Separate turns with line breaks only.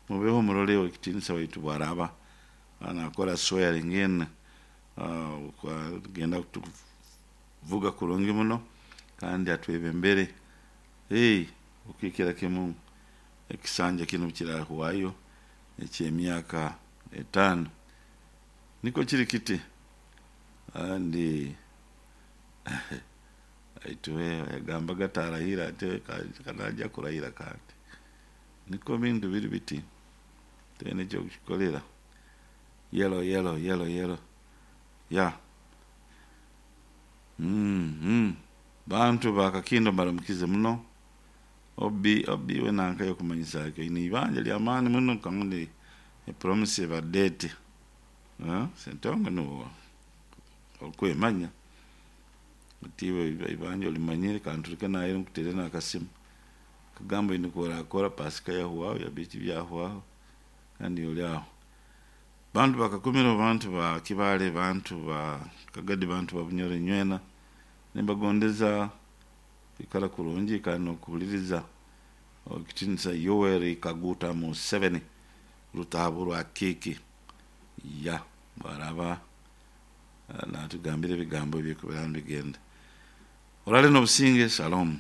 Mubeho murole owekitinisa waitu bwaraba nakora swearing in, genda kutuvuga kurungi muno kandi atwebembere. Hey, okikira kimu ekisanja kinu kirahwayo eky'emyaka 5. Nikwo kiri kiti, kandi aituwe yagambaga tarahira ate kanaja kurahira, kandi niko bintu biri biti, tene ekyokukikolera. Yellow, yellow, yellow, yellow, ya. Bantu bakakindo mbaramukize muno. Obi obi we nanka yokumanyisa oine ibanja ly'amaani muno, kandi epromise ebadde eti Sentongo nuwe okwemanya oti iwe ibanja olimanyire, kanturuke naheeru nkuterere n'akasimu kugamba oine oku orakora. Pasika yahwaho, biki byahwaho, kandi oli aho. Bantu bakakumiro, bantu ba Kibale, bantu ba Kagadi, bantu ba Bunyoro, nywena nimbagondeza kwikara kurungi kandi n'okuhuliriza owekitinisa Yoweri Kaguta Museveni Rutahaburwa Kiiki ya bwaraba natugambira ebigambo ebikubeera nibigenda. Orale n'obusinge, shalom.